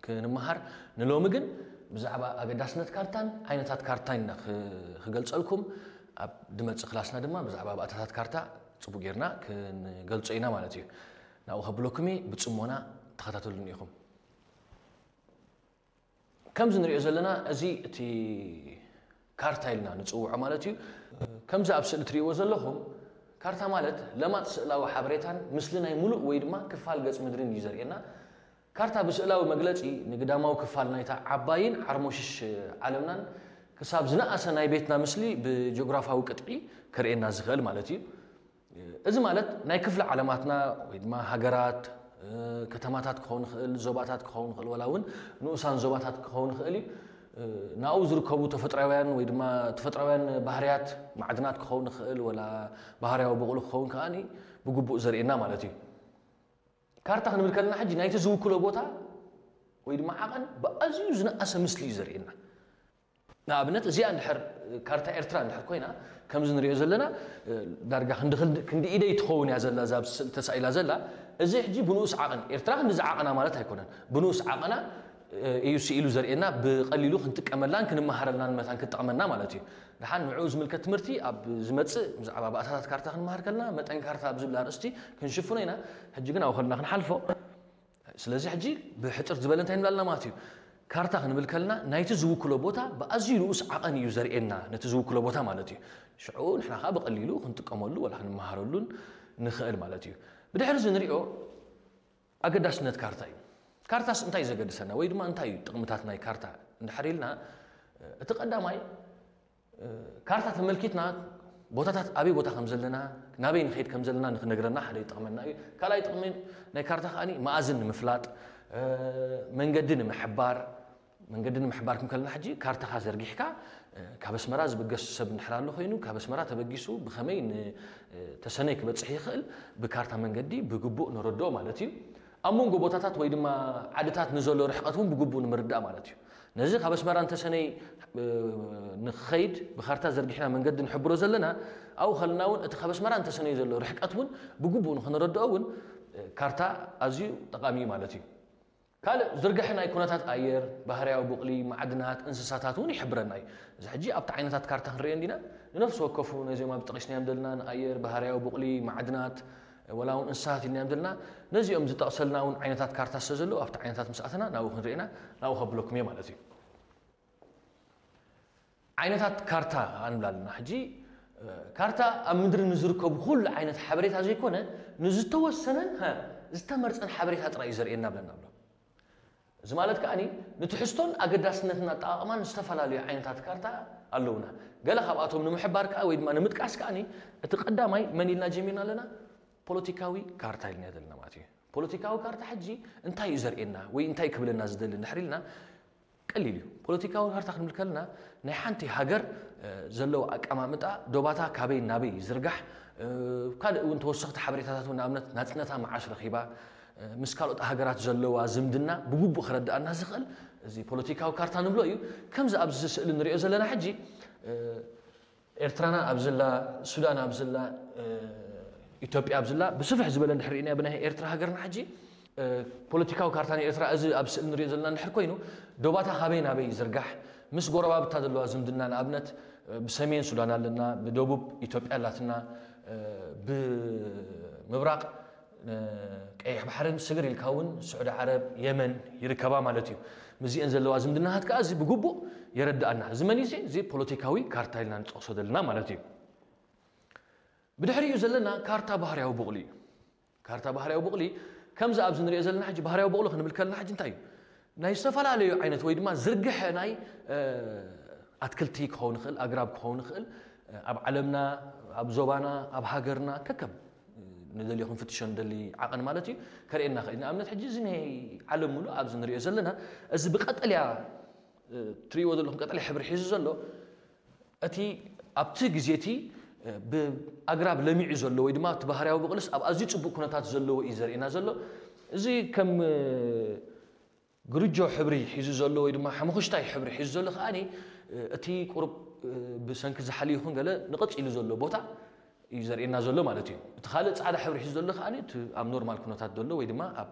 ክንመሃር። ንሎሚ ግን ብዛዕባ ኣገዳስነት ካርታን ዓይነታት ካርታን ኢና ክ- ክገልጸልኩም። ኣብ ድመጽእ ክላስና ድማ ብዛዕባ ባእታታት ካርታ ጽቡቅ ጌርና ክንገልጾ ኢና ማለት እዩ። ናብኡ ከብለኩም እየ፣ ብጽሞና ተኸታተሉኒ ኢኹም። ከምዚ ንሪኦ ዘለና፣ እዚ እቲ ካርታ ኢልና ንጽውዖ ማለት እዩ። ከምዚ ኣብ ስእሊ ትርእይዎ ዘለኹም፣ ካርታ ማለት ለማጽ ስእላዊ ሓበሬታን ምስሊ ናይ ሙሉእ ወይ ድማ ክፋል ገጽ ምድርን እዩ ዘርእየና። ካርታ ብስእላዊ መግለጺ ንግዳማዊ ክፋል ናይታ ዓባይን ዓርሞሽሽ ዓለምናን ክሳብ ዝነኣሰ ናይ ቤትና ምስሊ ብጂኦግራፋዊ ቅጥዒ ከርእየና ዝኽእል ማለት እዩ። እዚ ማለት ናይ ክፍለ ዓለማትና ወይ ድማ ሃገራት፣ ከተማታት ክኸውን ይኽእል፣ ዞባታት ክኸውን ይኽእል፣ ወላ እውን ንኡሳን ዞባታት ክኸውን ይኽእል እዩ። ናብኡ ዝርከቡ ተፈጥራውያን ወይ ድማ ተፈጥራውያን ባህርያት፣ ማዕድናት ክኸውን ይኽእል፣ ወላ ባህርያዊ በቕሉ ክኸውን ከኣ ብግቡእ ዘርእየና ማለት እዩ። ካርታ ክንብል ከለና ሕጂ ናይቲ ዝውክሎ ቦታ ወይ ድማ ዓቐን ብኣዝዩ ዝነኣሰ ምስሊ እዩ ዘርእየና። ንኣብነት እዚኣ እንድሕር ካርታ ኤርትራ እንድሕር ኮይና፣ ከምዚ ንሪኦ ዘለና፣ ዳርጋ ክንዲ ክንዲ ኢደይ ትኸውን እያ ዘላ፣ እዛ ኣብ ስእሊ ተሳኢላ ዘላ። እዚ ሕጂ ብንኡስ ዓቐን ኤርትራ ክንዲ ዝዓቐና ማለት ኣይኮነን። ብንኡስ ዓቐና እዩ ስኢሉ ዘርእየና፣ ብቐሊሉ ክንጥቀመላን ክንመሃረላን መታን ክጠቕመና ማለት እዩ። ደሓን ንዕኡ ዝምልከት ትምህርቲ ኣብ ዝመጽእ ብዛዕባ ባእታታት ካርታ ክንመሃር ከለና መጠን ካርታ ኣብ ዝብል ኣርእስቲ ክንሽፍኖ ኢና። ሕጂ ግን ኣብኡ ከለና ክንሓልፎ። ስለዚ ሕጂ ብሕጽር ዝበለ እንታይ ንብላልና ማለት እዩ? ካርታ ክንብል ከለና ናይቲ ዝውክሎ ቦታ ብኣዝዩ ንኡስ ዓቐን እዩ ዘርእየና፣ ነቲ ዝውክሎ ቦታ ማለት እዩ። ሽዑ ንሕና ከኣ ብቐሊሉ ክንጥቀመሉ ወላ ክንመሃረሉን ንኽእል ማለት እዩ። ብድሕሪ እዚ ንሪኦ ኣገዳስነት ካርታ እዩ። ካርታስ እንታይ እዩ ዘገድሰና ወይ ድማ እንታይ እዩ ጥቕምታት ናይ ካርታ እንድሕር ኢልና፣ እቲ ቀዳማይ ካርታ ተመልኪትና ቦታታት ኣበይ ቦታ ከም ዘለና፣ ናበይ ንኸይድ ከም ዘለና ንክነግረና ሓደ ይጠቕመና እዩ። ካልኣይ ጥቕሚ ናይ ካርታ ከኣ መኣዝን ንምፍላጥ፣ መንገዲ ንምሕባር። መንገዲ ንምሕባር ክንከልና ሕጂ ካርታኻ ዘርጊሕካ፣ ካብ ኣስመራ ዝብገስ ሰብ እንድሕር ኣሎ ኮይኑ፣ ካብ ኣስመራ ተበጊሱ ብኸመይ ንተሰነይ ክበጽሕ ይኽእል ብካርታ መንገዲ ብግቡእ ንረድኦ ማለት እዩ። ኣብ መንጎ ቦታታት ወይ ድማ ዓድታት ንዘሎ ርሕቀት እውን ብግቡእ ንምርዳእ ማለት እዩ። ነዚ ካብ ኣስመራ ንተሰነይ ንኽኸይድ ብካርታ ዘርጊሕና መንገዲ ንሕብሮ ዘለና፣ ኣብኡ ከለና እውን እቲ ካብ ኣስመራ ንተሰነይ ዘሎ ርሕቀት እውን ብግቡእ ንኽንረድኦ እውን ካርታ ኣዝዩ ጠቓሚ እዩ ማለት እዩ። ካልእ ዝርግሐ ናይ ኩነታት ኣየር፣ ባህርያዊ ቡቕሊ፣ ማዕድናት፣ እንስሳታት እውን ይሕብረና እዩ። እዚ ሕጂ ኣብቲ ዓይነታት ካርታ ክንርእዮ እንዲና፣ ንነፍሲ ወከፉ ነዚኦም ኣብ ጠቒስናዮም ዘለና ንኣየር፣ ባህርያዊ ቡቕሊ፣ ማዕድናት፣ ወላ እውን እንስሳት ኢልናዮም ዘለና፣ ነዚኦም ዝጠቕሰልና እውን ዓይነታት ካርታ ስለ ዘለዉ ኣብቲ ዓይነታት ምስ ኣተና ናብኡ ክንርእና ናብኡ ከብለኩም እየ ማለት እዩ። ዓይነታት ካርታ ኣንብላ ኣለና። ሕጂ ካርታ ኣብ ምድሪ ንዝርከቡ ኩሉ ዓይነት ሓበሬታ ዘይኮነ ንዝተወሰነን ዝተመርፀን ሓበሬታ ጥራይ እዩ ዘርእየና ብለና ኣሎ። እዚ ማለት ከኣ ንትሕዝቶን ኣገዳስነትን ኣጠቓቕማን ዝተፈላለዩ ዓይነታት ካርታ ኣለውና። ገለ ካብኣቶም ንምሕባር ከኣ ወይ ድማ ንምጥቃስ ከኣ እቲ ቀዳማይ መን ኢልና ጀሚርና ኣለና? ፖለቲካዊ ካርታ ኢልና ዘለና ማለት እዩ። ፖለቲካዊ ካርታ ሕጂ እንታይ እዩ ዘርእየና ወይ እንታይ ክብለና ዝደሊ እንድሕር ኢልና ቀሊል እዩ። ፖለቲካዊ ካርታ ክንብል ከለና ናይ ሓንቲ ሃገር ዘለዋ ኣቀማምጣ፣ ዶባታ ካበይ ናበይ ይዝርጋሕ፣ ካልእ እውን ተወሰኽቲ ሓበሬታታት እውን ንኣብነት ናፅነታ መዓስ ረኺባ፣ ምስ ካልኦት ሃገራት ዘለዋ ዝምድና ብግቡእ ክረድኣና ዝኽእል እዚ ፖለቲካዊ ካርታ ንብሎ እዩ። ከምዚ ኣብዚ ስእሊ ንሪኦ ዘለና ሕጂ ኤርትራና ኣብዝላ፣ ሱዳን ኣብዝላ፣ ኢትዮጵያ ኣብዝላ ብስፍሕ ዝበለ እንድሕር ርኢናዮ ብናይ ኤርትራ ሃገርና ሕጂ ፖለቲካዊ ካርታ ናይ ኤርትራ እዚ ኣብ ስእሊ ንሪኦ ዘለና እንድሕር ኮይኑ ዶባታ ካበይ ናበይ ይዝርጋሕ፣ ምስ ጎረባብታ ዘለዋ ዝምድና ንኣብነት ብሰሜን ሱዳን ኣለና፣ ብደቡብ ኢትዮጵያ ኣላትና፣ ብምብራቕ ቀይሕ ባሕርን ስግር ኢልካ እውን ስዑዲ ዓረብ፣ የመን ይርከባ ማለት እዩ። ምስዚአን ዘለዋ ዝምድናታት ከኣ እዚ ብግቡእ የረድኣና። እዚ መን እዩ? እዚ ፖለቲካዊ ካርታ ኢልና ንጠቕሶ ዘለና ማለት እዩ። ብድሕሪኡ ዘለና ካርታ ባህርያዊ ቡቕሊ እዩ። ካርታ ባህርያዊ ቡቕሊ ከምዚ ኣብዚ ንሪኦ ዘለና ሕጂ ባህርያዊ ቡቕሊ ክንብል ከለና ሕጂ እንታይ እዩ? ናይ ዝተፈላለዩ ዓይነት ወይ ድማ ዝርግሐ ናይ ኣትክልቲ ክኸውን ይኽእል፣ ኣግራብ ክኸውን ይኽእል፣ ኣብ ዓለምና፣ ኣብ ዞባና፣ ኣብ ሃገርና ከከም ንደልዮ ክንፍትሾ ንደሊ ዓቐን ማለት እዩ፣ ከርእየና ይኽእል። ንኣብነት ሕጂ እዚ ናይ ዓለም ሙሉእ ኣብዚ ንሪኦ ዘለና እዚ ብቀጠልያ ትሪእዎ ዘለኹም ቀጠልያ ሕብሪ ሒዙ ዘሎ እቲ ኣብቲ ግዜ እቲ ብኣግራብ ለሚዑ ዘሎ ወይ ድማ እቲ ባህርያዊ ብቕልስ ኣብ ኣዝዩ ጽቡቕ ኩነታት ዘለዎ እዩ ዘርእየና ዘሎ። እዚ ከም ግርጆ ሕብሪ ሒዙ ዘሎ ወይ ድማ ሓመኹሽታይ ሕብሪ ሒዙ ዘሎ ከኣ እቲ ቁሩብ ብሰንኪ ዝሓል ይኹን ገለ ንቐጽ ኢሉ ዘሎ ቦታ እዩ ዘርእየና ዘሎ ማለት እዩ። እቲ ካልእ ጻዕዳ ሕብሪ ሒዙ ዘሎ ከኣ እቲ ኣብ ኖርማል ኩነታት ዘሎ ወይ ድማ ኣብ